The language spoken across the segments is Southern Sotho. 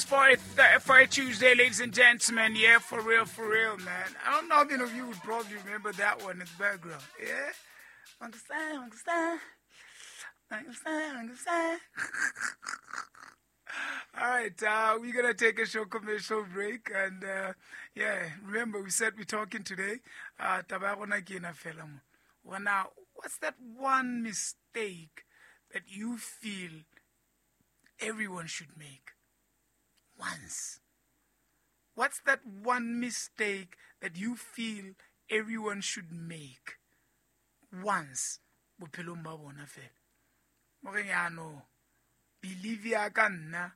tunes for a Tuesday, ladies and gentlemen. Yeah, for real, man. I don't know how many of you would probably remember that one in the background. Yeah? Understand, understand. Understand, understand. All right, we're gonna take a short commercial break, and yeah, remember we said we're talking today. Taba ya rona ke ena fela mo. Well, now, what's that one mistake that you feel everyone should make once? What's that one mistake that you feel everyone should make once? Bophelong ba bona fela. Mo reng ya no, believe ya ka nna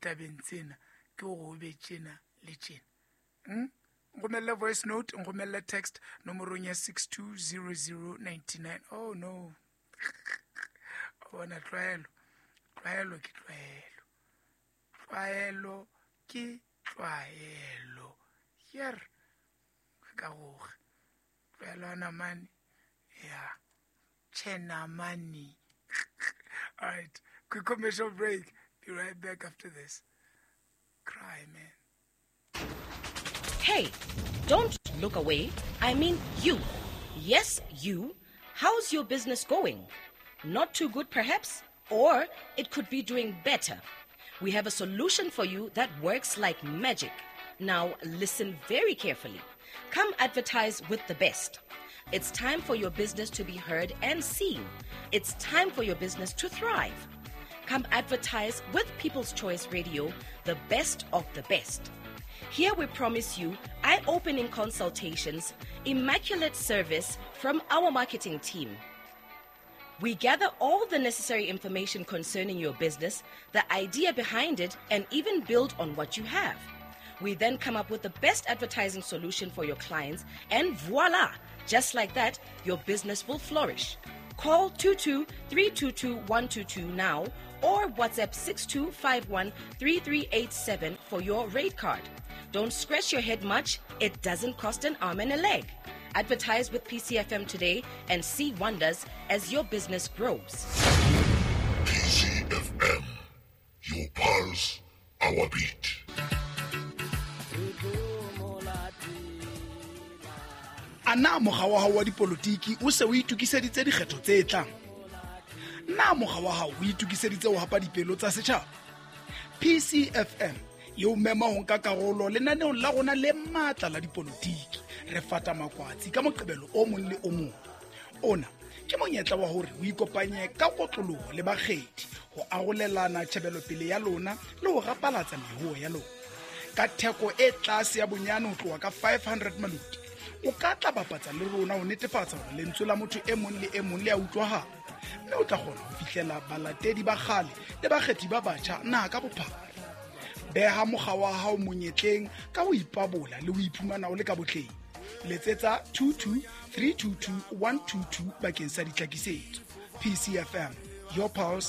tabeng tsena ke hore o be tjena le tjena. Nromelle voice note, nromelle text nomorong ya 620099. Oh no. O bona tlwaelo. Tlwaelo ke tlwaelo. Tlwaelo ke tlwaelo. Hier. Re ka roga. Tlwaelo ya namane. Yeah. Chenamani. All right. Quick commercial break. Be right back after this. Cry, man. Hey, don't look away. I mean you. Yes, you. How's your business going? Not too good, perhaps? Or it could be doing better. We have a solution for you that works like magic. Now, listen very carefully. Come advertise with the best. It's time for your business to be heard and seen. It's time for your business to thrive. Come advertise with People's Choice Radio, the best of the best. Here we promise you eye opening consultations, immaculate service from our marketing team. We gather all the necessary information concerning your business, the idea behind it, and even build on what you have. We then come up with the best advertising solution for your clients, and voila! Just like that, your business will flourish. Call 22 322 122 now or WhatsApp 6251 3387 for your rate card. Don't scratch your head much, it doesn't cost an arm and a leg. Advertise with PCFM today and see wonders as your business grows. PCFM, your pulse, our beat. A na mokga wa hao wa dipolotiki o se o itokiseditse dikgetho tse tlang? Na mokga wa hao o itokiseditse ho hapa dipelo tsa setjhaba? PCFM e o mema ho nka karolo lenaneong la rona le matla la dipolotiki. Re fata makwatsi ka Moqebelo o mong le o mong. Ona ke monyetla wa hore o ikopanye ka kotloloho le bakgethi ho arolelana tjhebelopele ya lona le ho rapalatsa mehuo ya lona. Ka theko e tlase ya bonyane ho tloha ka 500 maloti, o ka tla bapatsa le rona ho netefatsa hore lentswe la motho e mong le e mong le a utlwahala, mme o tla kgona ho fihlela balatedi ba kgale le bakgethi ba batjha naha ka bophara. Beha mokga wa hao monyetleng ka ho ipabola le ho iphumana o le ka botleng. Letsetsa 22 322 122 bakeng sa ditlhakisetso. PCFM, your pulse.